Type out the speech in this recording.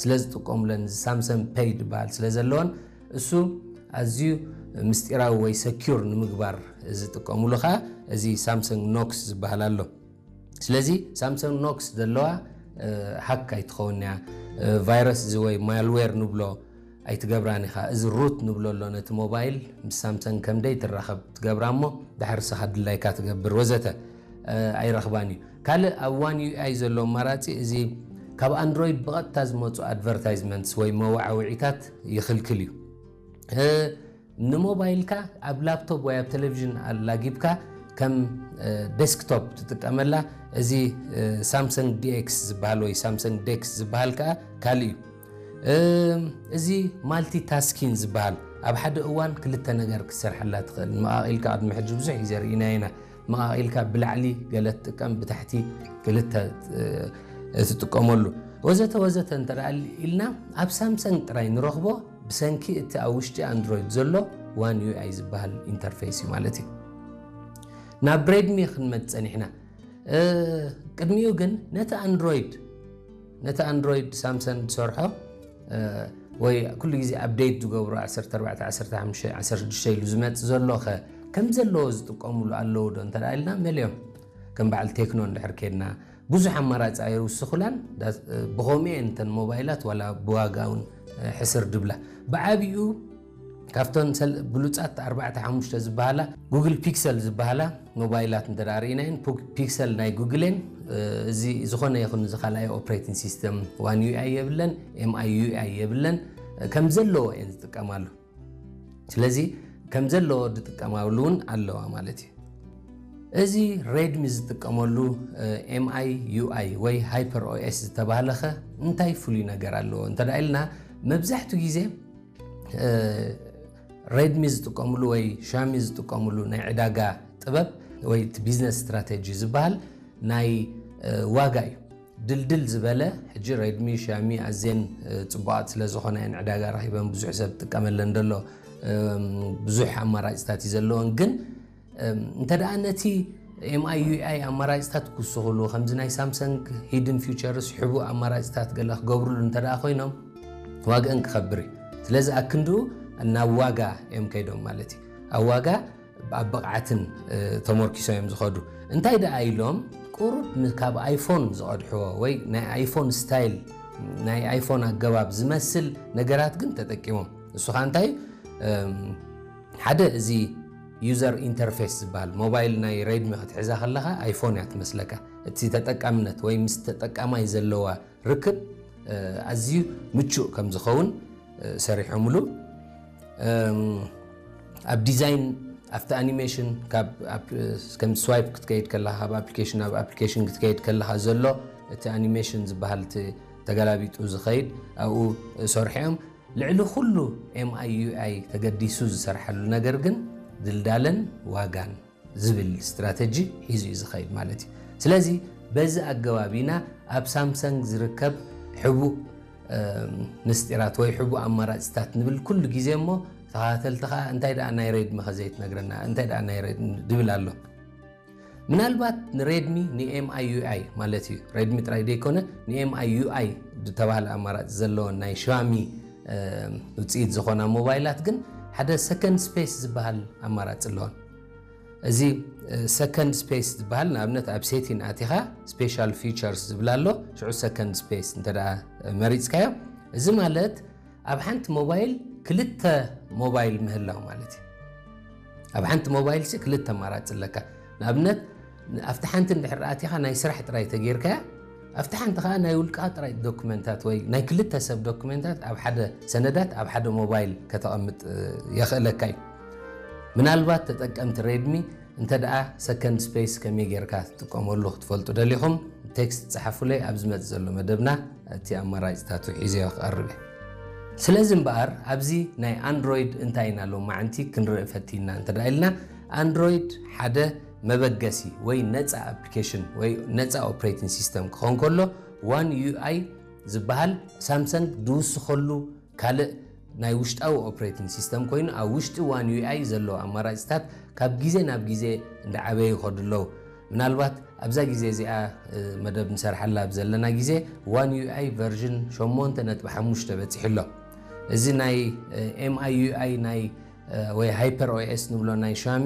ስለ ዝጥቀሙለን፣ ሳምሰንግ ፔይ ዝበሃል ስለ ዘለወን፣ እሱ ኣዝዩ ምስጢራዊ ወይ ሰኪር ንምግባር ዝጥቀሙሉ ከዓ እዚ ሳምሰንግ ኖክስ ዝበሃል ኣሎ። ስለዚ ሳምሰንግ ኖክስ ዘለዋ ሃክ ኣይትኸውን እያ። ቫይረስ እዚ ወይ ማልዌር ንብሎ ኣይትገብራን ኢኻ። እዚ ሩት ንብሎ ኣሎ ነቲ ሞባይል፣ ምስ ሳምሰንግ ከምደይ ትራኸብ ትገብራ እሞ፣ ድሓር ንስኻ ድላይካ ትገብር ወዘተ ኣይረኽባን እዩ። ካልእ ኣብ ዋን ዩ ኣይ ዘሎ ኣማራፂ፣ እዚ ካብ ኣንድሮይድ ብቐጥታ ዝመፁ ኣድቨርታይዝመንትስ ወይ መወዓውዒታት ይኽልክል እዩ። ንሞባይልካ ኣብ ላፕቶፕ ወይ ኣብ ቴሌቪዥን ኣላጊብካ ከም ዴስክቶፕ ትጥቀመላ። እዚ ሳምሰንግ ዲኤክስ ዝበሃል ወይ ሳምሰንግ ዴክስ ዝበሃል ከዓ ካልእ እዩ። እዚ ማልቲ ታስኪን ዝበሃል፣ ኣብ ሓደ እዋን ክልተ ነገር ክትሰርሐላ ትኽእል። መቓቒልካ ቅድሚ ሕጂ ብዙሕ ግዜ ርኢና ኢና። መቓቒልካ ብላዕሊ ገለ ትጥቀም፣ ብታሕቲ ክልተ ትጥቀመሉ ወዘተ ወዘተ እንተ ኢልና፣ ኣብ ሳምሰንግ ጥራይ ንረኽቦ፣ ብሰንኪ እቲ ኣብ ውሽጢ ኣንድሮይድ ዘሎ ዋን ዩ ኣይ ዝበሃል ኢንተርፌስ እዩ ማለት እዩ። ናብ ሬድሚ ክንመጽእ ጸኒሕና። ቅድሚኡ ግን ነቲ ኣንድሮይድ ነቲ ኣንድሮይድ ሳምሰንግ ዝሰርሖ ወይ ኩሉ ግዜ ኣፕዴት ዝገብሩ ዓሰርተ ኣርባዕተ፣ ዓሰርተ ሓሙሽተ፣ ዓሰርተ ሽዱሽተ ኢሉ ዝመጽእ ዘሎ ከ ከም ዘለዎ ዝጥቀሙሉ ኣለዉ ዶ እንተ ኢልና፣ መሊኦም። ከም በዓል ቴክኖ እንድሕር ኬድና፣ ብዙሕ ኣማራፂ ኣይውስኹላን። ብኸምኡ እየን እተን ሞባይላት ዋላ ብዋጋ እውን ሕስር ድብላ። ብዓቢኡ ካብተን ብሉፃት ኣርባዕተ ሓሙሽተ ዝበሃላ፣ ጉግል ፒክሰል ዝበሃላ ሞባይላት እንተ ርኢናየን፣ ፒክሰል ናይ ጉግል እየን። እዚ ዝኾነ ይኹን እዚ ካልኣይ ኦፕሬቲንግ ሲስተም ዋን ዩ ኣይ የብለን፣ ኤም ኣይ ዩ ኣይ የብለን፣ ከም ዘለዎ እየን ዝጥቀማሉ። ስለዚ ከም ዘለዎ ዝጥቀማሉ እውን ኣለዋ ማለት እዩ። እዚ ሬድሚ ዝጥቀመሉ ኤም ኣይ ዩ ኣይ ወይ ሃይፐር ኦ ኤስ ዝተባህለኸ እንታይ ፍሉይ ነገር ኣለዎ እንተ ኢልና፣ መብዛሕትኡ ግዜ ሬድሚ ዝጥቀምሉ ወይ ሻሚ ዝጥቀምሉ ናይ ዕዳጋ ጥበብ ወይ እቲ ቢዝነስ ስትራቴጂ ዝበሃል ናይ ዋጋ እዩ። ድልድል ዝበለ፣ ሕጂ ሬድሚ፣ ሻሚ ኣዝየን ጽቡቓት ስለ ዝኾና እየን ዕዳጋ ረኺበን፣ ብዙሕ ሰብ ጥቀመለን ዘሎ፣ ብዙሕ ኣማራፅታት እዩ ዘለወን። ግን እንተ ደኣ ነቲ ኤም ኣይ ዩ ኣይ ኣማራፅታት ክውስኹሉ፣ ከምዚ ናይ ሳምሰንግ ሂድን ፊውቸርስ፣ ሕቡእ ኣማራፅታት ገለ ክገብሩሉ እንተ ደኣ ኮይኖም፣ ዋግአን ክኸብር እዩ። ስለዚ ኣክንድኡ ናብ ዋጋ እዮም ከይዶም ማለት እዩ። ኣብ ዋጋ ኣብ ብቕዓትን ተመርኪሶም እዮም ዝኸዱ። እንታይ ደኣ ኢሎም፣ ቁሩብ ካብ ኣይፎን ዝቐድሕዎ ወይ ናይ ኣይፎን ስታይል፣ ናይ ኣይፎን ኣገባብ ዝመስል ነገራት ግን ተጠቂሞም። እሱ ኸኣ እንታይ፣ ሓደ፣ እዚ ዩዘር ኢንተርፌስ ዝበሃል፣ ሞባይል ናይ ሬድሚ ክትሕዛ ከለኻ ኣይፎን እያ ትመስለካ። እቲ ተጠቃምነት ወይ ምስ ተጠቃማይ ዘለዋ ርክብ ኣዝዩ ምቹእ ከም ዝኸውን ሰሪሖምሉ። ኣብ ዲዛይን፣ ኣብቲ ኣኒሜሽን፣ ከም ስዋይፕ ክትከይድ ከለኻ፣ ካብ ኣፕሊኬሽን ናብ ኣፕሊኬሽን ክትከይድ ከለኻ ዘሎ እቲ ኣኒሜሽን ዝበሃል፣ እቲ ተገላቢጡ ዝኸይድ፣ ኣብኡ ሰርሖም። ልዕሊ ኩሉ ኤም ኣይ ዩ ኣይ ተገዲሱ ዝሰርሓሉ ነገር ግን ድልዳለን ዋጋን ዝብል ስትራተጂ ሒዙ እዩ ዝኸይድ ማለት እዩ። ስለዚ በዚ ኣገባብ ኢና ኣብ ሳምሰንግ ዝርከብ ሕቡእ ምስጢራት ወይ ሕቡእ ኣማራፅታት ንብል ኩሉ ግዜ። እሞ ተኸታተልቲ ከዓ እንታይ ደኣ ናይ ሬድሚ ከ ዘይትነግረና፣ እንታይ ደኣ ናይ ሬድሚ ድብል ኣሎ። ምናልባት ንሬድሚ ንኤም ኣይ ዩ ኣይ ማለት እዩ፣ ሬድሚ ጥራይ ዘይኮነ ንኤም ኣይ ዩ ኣይ ዝተባህለ ኣማራፂ ዘለዎን ናይ ሻሚ ውፅኢት ዝኾና ሞባይላት ግን ሓደ ሰከንድ ስፔስ ዝበሃል ኣማራፂ ኣለዎን። እዚ ሰከንድ ስፔስ ዝበሃል፣ ንኣብነት ኣብ ሴቲን ኣቲኻ ስፔሻል ፊቸርስ ዝብል ኣሎ። ሽዑ ሰከንድ ስፔስ እንተ ደኣ መሪፅካዮ፣ እዚ ማለት ኣብ ሓንቲ ሞባይል ክልተ ሞባይል ምህላው ማለት እዩ። ኣብ ሓንቲ ሞባይል ሲ ክልተ ኣማራፂ ኣለካ። ንኣብነት ኣብቲ ሓንቲ እንድሕር ኣቲኻ ናይ ስራሕ ጥራይ ተጌርካያ፣ ኣብቲ ሓንቲ ከዓ ናይ ውልቃ ጥራይ ዶክመንታት ወይ ናይ ክልተ ሰብ ዶክመንታት ኣብ ሓደ ሰነዳት ኣብ ሓደ ሞባይል ከተቐምጥ የኽእለካ እዩ። ምናልባት ተጠቀምቲ ሬድሚ እንተ ደኣ ሰከንድ ስፔስ ከመይ ጌርካ ትጥቀመሉ ክትፈልጡ ደሊኹም፣ ቴክስት ጸሓፉለይ። ኣብ ዝመጽእ ዘሎ መደብና እቲ ኣማራጺታቱ ሒዘዮ ክቐርብ እየ። ስለዚ እምበኣር ኣብዚ ናይ ኣንድሮይድ እንታይ ኢና ሎማዓንቲ ክንርኢ ፈቲና እንተ ደኣ ኢልና፣ ኣንድሮይድ ሓደ መበገሲ ወይ ነጻ ኣፕሊኬሽን ወይ ነጻ ኦፕሬቲንግ ሲስተም ክኸውን ከሎ፣ ዋን ዩ ኣይ ዝበሃል ሳምሰንግ ዝውስኸሉ ካልእ ናይ ውሽጣዊ ኦፕሬቲንግ ሲስተም ኮይኑ፣ ኣብ ውሽጢ ዋን ዩ ኣይ ዘለዉ ኣማራጺታት ካብ ግዜ ናብ ግዜ እንዳዓበዩ ይኸዱ ኣለዉ። ምናልባት ኣብዛ ግዜ እዚኣ መደብ ንሰርሓላ ኣብ ዘለና ግዜ ዋን ዩ ኣይ ቨርዥን ሸሞንተ ነጥቢ ሓሙሽተ በፂሑ ኣሎ። እዚ ናይ M I U I ናይ ወይ ሃይፐር ኦኤስ ንብሎ ናይ ሻሚ